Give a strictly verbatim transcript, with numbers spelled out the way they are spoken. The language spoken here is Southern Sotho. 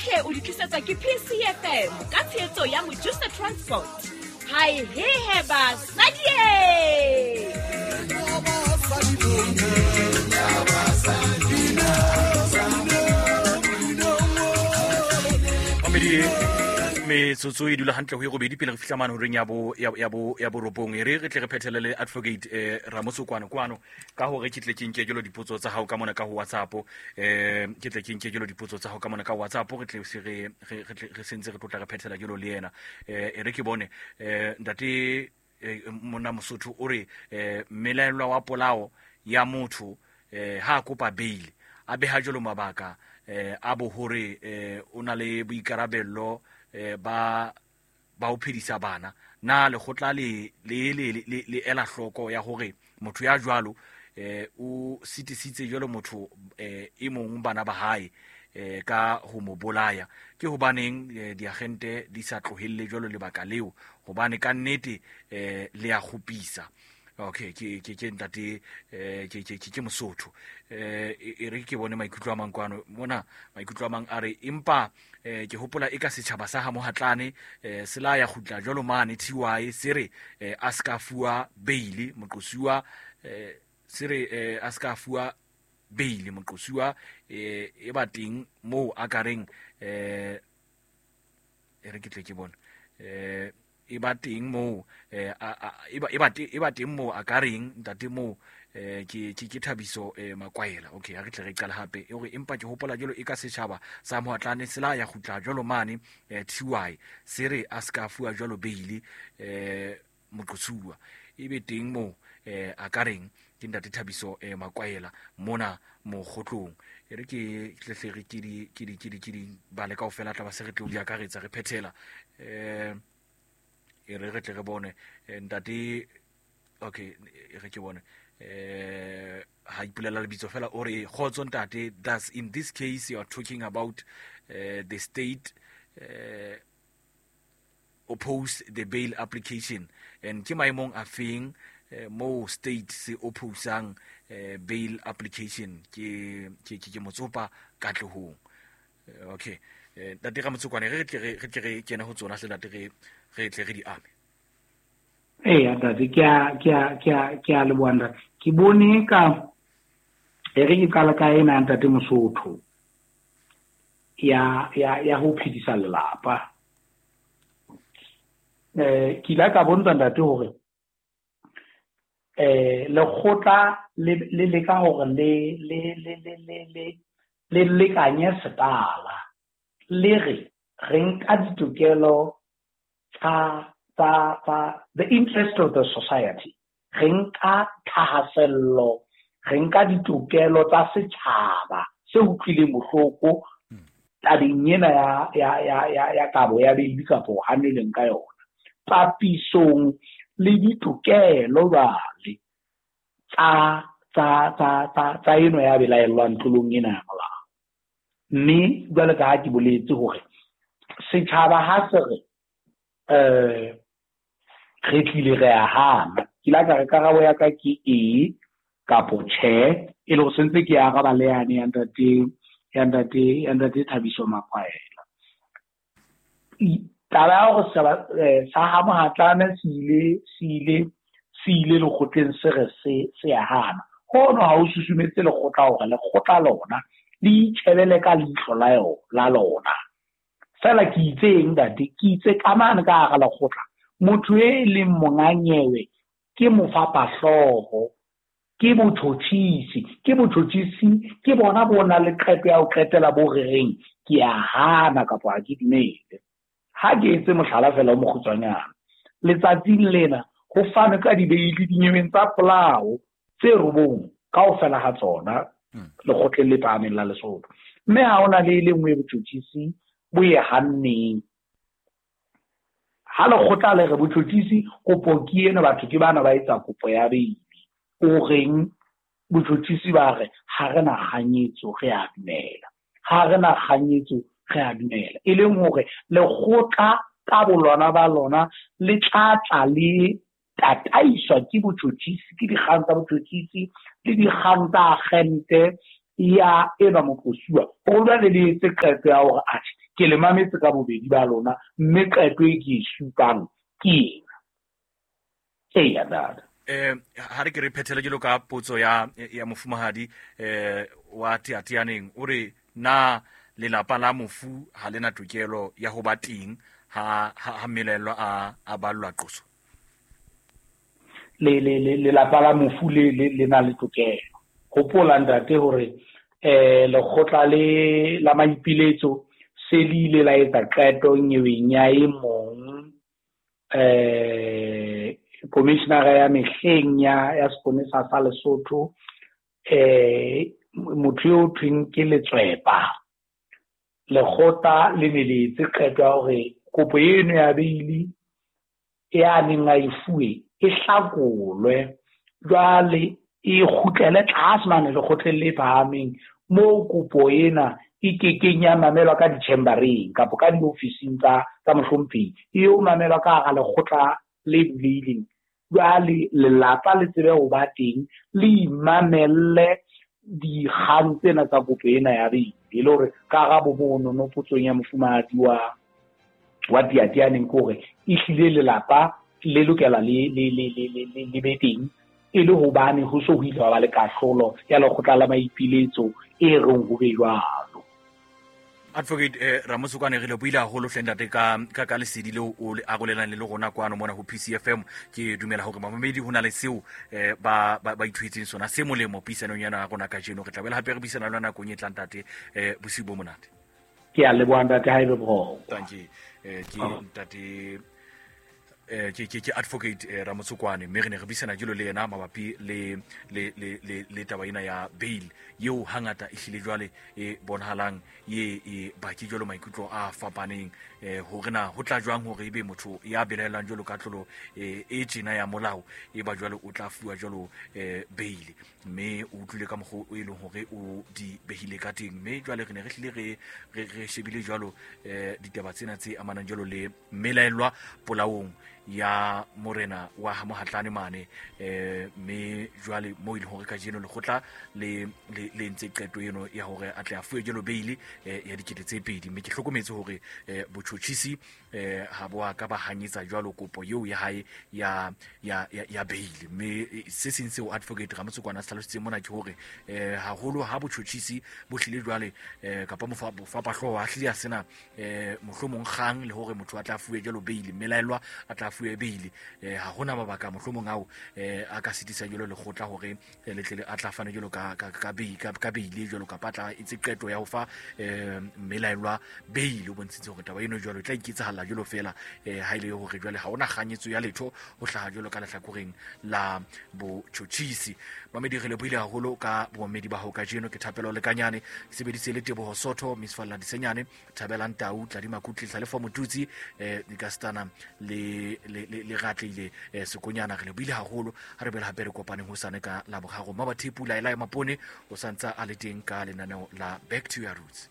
Tsohle o di tlisetswa ke P C F M ka tshehetso ya Mojusa Transport. Hai he he basadi. Mamedi metsotso e dula hantle ho e robedi pele re fihla mane horeng ya bo ya bo ya borobong. E re re tle re phethele le advocate eh Ramotsokwane kwano ka hore ke tle ke nke jelo dipotso tsa hao ka mona ka ho WhatsApp, eh ke tle ke nke jelo dipotso tsa hao ka mona ka WhatsApp, re tle se re re re sentse re tlotla re phethela jelo le yena. Eh e re ke bone eh ntate monna Mosotho o re eh mmelaelwa wa polao ya motho eh ha kopa bail a beha jelo mabaka eh a bo hore eh o na le boikarabello eh ba ba o phedisa bana na le khotla le le le le ela hloko ya hore motho ya jwalo eh o sitisitse jwalo motho eh e mong bana ba hae eh ka ho mo bolaya. Ke hobaneng diagente di sa tlohelle jwalo lebaka leo, hobane ka nnete eh le ya kgopisa. Okay, ke ke ke ntate eh ke ke ke Mosotho. Eh e re ke bone maikutlo a mang kwano mona, maikutlo a mang a re empa eh ke hopola e ka setjhaba sa ha Mohatlane eh se la ya kgutla jwalo mane T Y se re a ska fuwa bail moqosuwa, eh se re a ska fuwa bail moqosuwa eh e ba teng moo a ka reng eh e re ke tle ke bone eh e ba teng moo eh e ba e ba e ba teng moo a ka reng ntate moo eh ke ke ke Thabiso eh Makwaela. Okay, ha re tle re qala hape e hore empa ke hopola jelo e ka setjhaba sa Mohatlane se la ya kgutla jwalo mane T Y se re a ska fuwa jwalo bail eh moqosuwa e be teng moo eh a ka reng ke ntate Thabiso eh Makwaela mona mokgotlong. E re ke tle re ke di ke di ke di ke di bale kaofela tla ba se re tlo di akaretsa re phethela eh e re re tle re bone ntate. Okay, e re ke bone eh ha ipolela lebitso fela o re kgotso ntate, thus in this case you are talking about uh, the state uh, oppose the bail application and ke maemong a feng uh, mo state se opposang uh, bail application ke ke ke Motsopa Katlehong. Okay, ntate Ramotsokwane re tle re tle re kene ho tsona hle ntate re re tle re di ame. Eh ntate ke a ke a ke a ke a leboha ntate. Ke bone ka e re ke qala ka ena ntate Mosotho ya ya ya ho phedisa lelapa. Eh ke ile ka bontsha ntate hore eh lekgotla le le leka hore le le le le le le le lekanye setala le re re nka ditokelo tsa tsa tsa the interest of the society, re nka thahasello, re nka ditokelo tsa setjhaba se utlwileng bohloko tabeng ena ya ya ya ya ya kabo ya bail kapo haneleng ka yona papisong le ditokelo jwale tsa tsa tsa tsa tsa eno ya belaellwang tlolong ena ya molao. Mme jwale ka ha ke boletse hore setjhaba ha se re eh re tlile re a hana, ke la ka re karabo ya ka ke e kapo tjhe, e le hore sentse ke araba le yane ya ntate ya ntate ya ntate Thabiso Makwaela. Taba ya hore setjhaba sa ha Mohatlane se ile se ile se ile lekgotleng se re se se a hana, hono ha o susumetse lekgotla hore lekgotla lona le itjhebele ka leihlo la yo la lona. Fela ke itseng ntate, ke itse ka mane ka hara lekgotla motho e leng monganyewe ke mofapahlooho, ke botjhotjhisi, ke botjhotjhisi ke bona bo na le qeto ya ho qetela bo re reng ke a hana kapa ha ke dumele. Ha ke etse mohlala fela o mokgutshwanyane, letsatsing lena ho fanwe ka dibeili dinyeweng tsa polao tse robong kaofela ha tsona lekgotleng le phahameng la Lesotho, mme ha hona le e le nngwe botjhotjhisi bo e hanneng. Ha lekgotla le re botjhotjhisi kopo ke ena, batho ke bana ba etsa kopo ya bail, o reng botjhotjhisi ba re ha re na kganyetso re a dumela, ha re na kganyetso re a dumela, e leng hore lekgotla ka bolona ba lona le tla tla le tataiswa ke botjhotjhisi, ke dikgang tsa botjhotjhisi le dikgang tsa agente ya enwa moqosuwa, hore jwale le etse qeto ya hore atjhe Ke le mametse ka bobedi ba lona, mme qeto e ke e supang ke ena. Eya dada. Eh ha re ke re phethele jalo ka potso ya ya mofumahadi eh wa Teateaneng, o re na lelapa la mofu ha lena tokelo ya ho ba teng ha ha mmelelo a a ballwa qoso? Le le lelapa la mofu le le na le tokelo. Hopola ntate hore eh lekgotla le la maipiletso se le ile la etsa qeto nyeweng ya e mong eh commissioner ya mehleng ya ya seponesa sa Lesotho, eh motho eo thweng ke Letswepa. Lekgotla le ne le etse qeto ya hore kopo eno ya beili e a neng a e fuwe e hlakolwe, jwale e kgutlele tlase mane lekgotleng le phahameng moo kopo ena e kekeng ya mamelwa ka di-chambereng kapa ka diofising tsa tsa mohlomphehi, e yo mamelwa ka hara lekgotla le bulehileng. Jwale lelapa le tsebe ho ba teng, le imamelle dikgang tsena tsa kopo ena ya beili, e le hore karabo monono potsong ya mofumahadi wa wa Teateaneng ke hore ehlile lelapa le lokela le le le le le be teng, e le hobane ho so ho ile wa ba le kahlolo ya lekgotla la maipiletso e reng ho be jwalo. Advocate eh, Ramotsokwane, re le buile haholo hle ntate ka ka ka lesedi leo o le arolelang le rona kwano mona ho P C F M. Ke dumela hore mamamedi ho na le seo eh, ba ba, ba ithuetseng sona se molemo puisanong yana ya rona kajeno. Re tla boela hape re buisana le nakong e tlang ntate. Eh, bosiu bo monate. Ke a leboha ntate, ha ebe boroko. Thank you. Eh, ke ntate eh ke ke ke Advocate eh, Ramotsokwane, mme re ne re buisana jalo le yena mabapi le le le le le taba ena ya bail eo hangata e hlile jwale e bonahalang ye e baki jalo maikutlo a fapaneng, eh hore na ho tla jwang hore ebe motho ya belaelang jalo ka tlolo e e tjena ya molao e ba jwalo o tla fuwa jalo eh bail, mme o utlwile ka mokgwa o e leng hore o di behile ka teng. Mme jwale re ne re hlile re re shebile jwalo eh ditaba tsena tse amanang jalo le mmelaellwa polaong ya morena wa ha Mohatlane mane, eh mme jwale mo ile hore kajeno lekgotla le le le ntse qeto eno ya hore a tle a fuwe jalo bail ya dikete tse pedi. Mme ke hlokometse hore botjhotjhisi eh ha bo a ka ba hanyetsa jwalo kopo eo ya hae ya ya ya bail. Mme se seng seo Advocate Ramotsokwane a se hlalositseng mona ke hore eh haholo ha botjhotjhisi bo hlile jwale eh kapa mofapahlooho a hlile a sena eh mohlomong kgang le hore motho a tla fuwe jalo bail, mmelaellwa a tla fuwe bail, eh ha hona mabaka mohlomong ao eh a ka sitisa jalo lekgotla hore le tle le a tla fana jalo ka ka ka bail ka ka bail jalo kapa tla itse qeto ya ho fa eh mmelaellwa bail. O bontshitse hore taba eno jwalo e tla iketsahalla jalo fela eh ha ile hore jwale ha ona kganyetso ya letho ho hlaha jalo ka lehlakoreng la botjhotjhisi. Mamedi, re lebohile haholo ka bomamedi ba hao kajeno. Ke Thapelo Lekanyane, ke sebedise le Teboho Sotho, Miss Falla Disenyane, Thabelang Tau, Tladima Kutli, Tlhalefo Motutsi, eh Dikastana le le le ratleile eh, Sekonyana. Re lebohile haholo. Ha re bela hape re kopaneng hosane ka Laboraro. Mabathepu Laila Mapone o santsa a le teng ka lenaneo la Back to Your Roots.